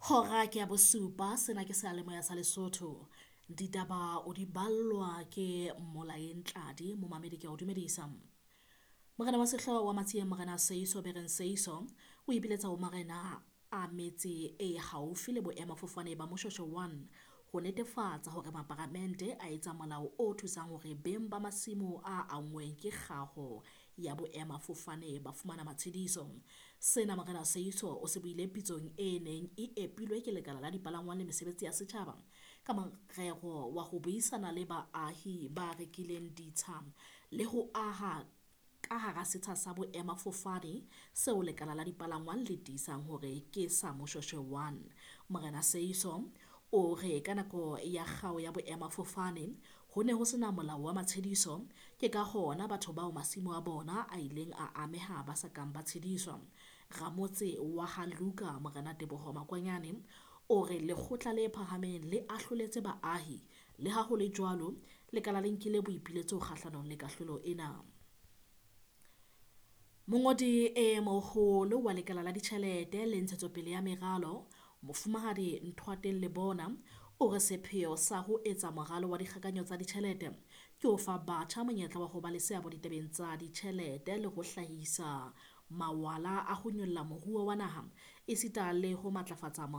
Hora ke ya bosupa sena ke seyalemoya sa Lesotho. Ditaba o di ballwa ke Mmolaeng Tladi, momamedi ke a o dumedisa. Morena wa sehlooho wa Matsieng Morena Seiso Bereng Seiso o ipiletsa ho marena a metse e haufi le boemafofane ba Moshoeshoe 1 ho netefatsa hore maparamente a etsa molao o thusang hore beng ba masimo a anngweng ke kgaho ya boemafofane ba fumana matshediso. Sena Morena Seiso o se buile pitsong e neng e epilwe ke lekala la dipalangwang le mesebetsi ya setjhaba ka morero wa ho buisana le baahi ba rekileng ditsha le ho aha ka hara setsha sa boemafofane seo lekala la dipalangwang le tiisang hore ke sa Moshoeshoe 1. Morena Seiso o re ka nako ya kgao ya boemafofane ho ne ho sena molao wa matshediso, ke ka hona batho bao masimo a bona a ileng a ameha ba sa kang ba tshediswa. Ramotse wa ha Luka Morena Teboho Makwanyane o re lekgotla le phahameng le ahloletse baahi, le ha ho le jwalo lekala le nkile boipiletso kgahlanong le kahlolo ena. Mongodi e moholo wa lekala la ditjhelete le ntshetsopele ya meralo, Mofumahadi Nthoateng Lebona o re sepheo sa ho etsa moralo wa dikgakanyo tsa ditjhelete ke ho fa batjha monyetla wa ho ba le seabo ditabeng tsa ditjhelete le ho hlahisa mawala a ho nyolla moruo wa naha esita le ho matlafatsa